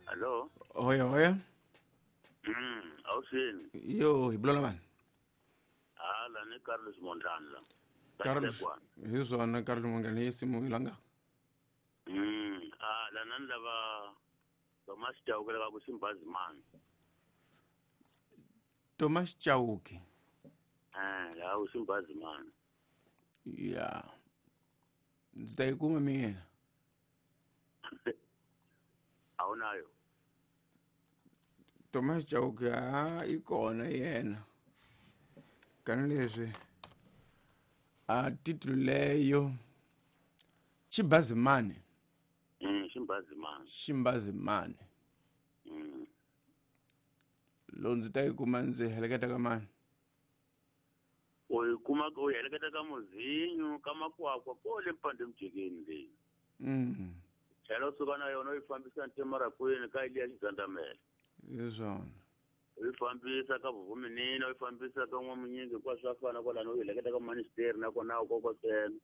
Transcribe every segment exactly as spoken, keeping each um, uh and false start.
Hello. Hoya hoya. Mm, awusini. Yo, hi bulola mani. Hala ni Carlos Mondlane. Carlos. Hi swona Carlos Mondlane hi simu ilanga. Mm, ah la nani lava Thomas Chauke lava ku Simbazimani. Thomas Chauke. Eh, la ku Simbazimani. Yeah. Ndzi ta yi kuma mina. Awunayo. Thomas Chauke a i kona yena. Kani leswi a titulu leyo Ximbazimani. Mm, Ximbazimani. Ximbazimani. Mm. Lo ndzi ta yi kuma ndzi heleketa ka mani? U yi kuma u heleketa ka Muzinyu ka Makwakwa kole mpande mjikeni leyi. Mm. Tlhela u suka na yona u yi fambisa ntemarakwini ka Eliya Xigandamela. Hi swona. U yi fambisa ka Vuvuminina, u yi fambisa ka N'wamunyingi hinkwaswo swa fana kwalano, u yi heleketa ka Ministeri nakona u kokosela.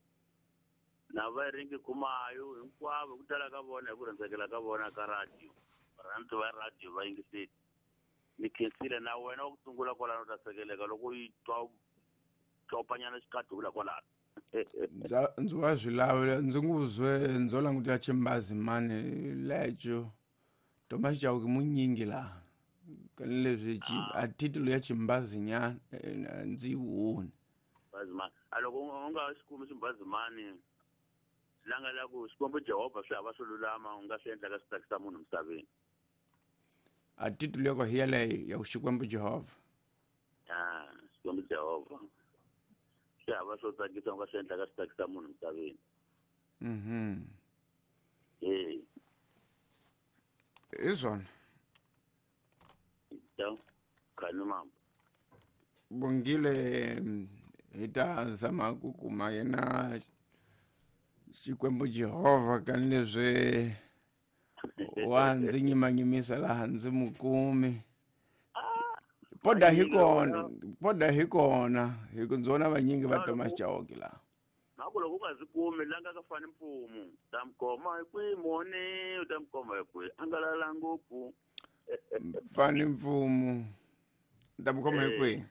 Na va ringi kumayo hinkwavo ku tala ka vona hi ku rhandzekela ka vona ka radio. Varhandzi va radio va yingiseli. Ni khensile na wena wa ku sungula kwalano u ta sekeleka loko u yi twa tlopanyana xikadula kwalano. Ndza ndzi wa swi lava ndzi nguzwe ndzo langutela Ximbazimani lecho. Thomas Chauke munyingi laha. Kani leswi a titulu ya Ximbazinyana ndzi yi voni. Ximbazimani. A loko u nga xi kumi Ximbazimani langa la ku Xikwembu Jehovha swi hava swo lulama u nga swi endlaka swi tsakisa munhu misaveni. A titulu ya ko hi yaleyo ya ku Xikwembu Jehovha. Ah, Xikwembu Jehovha. Swi hava swo tsakisa u nga swi endlaka swi tsakisa munhu misaveni. Mhm. Eh. Hi swona. To khani mama. Bongile hi ta zama ku kuma yena Xikwembu Jehovha kani leswi wa ndzi nyimanyimisa laha ndzi mu kumi. Poda hi kona, poda hi kona, hi ku ndzi vona vanyingi va Thomas Chauke laha. Na ku loko u nga swi kumi langa ka fani mpfumu, ta mi khoma hi kwihi moni, u ta mi khoma hi kwihi, a nga lala ngopfu. Fani mpfumu, ta mi khoma hi kwihi?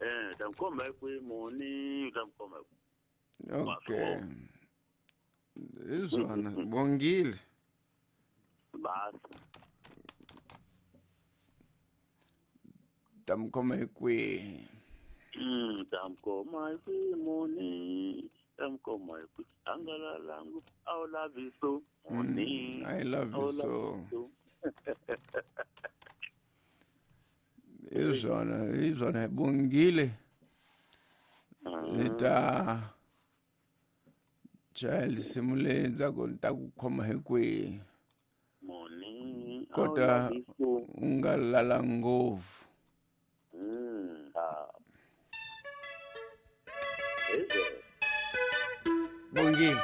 Eh, ta mi khoma hi kwihi moni, u ta mi khoma hi kwihi. Okay. Hi swona, bongile. Basi. Ta mi khoma hi kwihi? Mm, ta mi khoma hi kwihi moni, ta mi khoma hi kwihi, a nga lala ngopfu, a wu lavi so moni. I love you so. Hi swona, hi swona, bongile. Hi ta chaya risimu leyi ndzhaku ni ta ku khoma hi kwihi. Moni, Kota u nga lala ngopfu. Mm, ah. Bongile.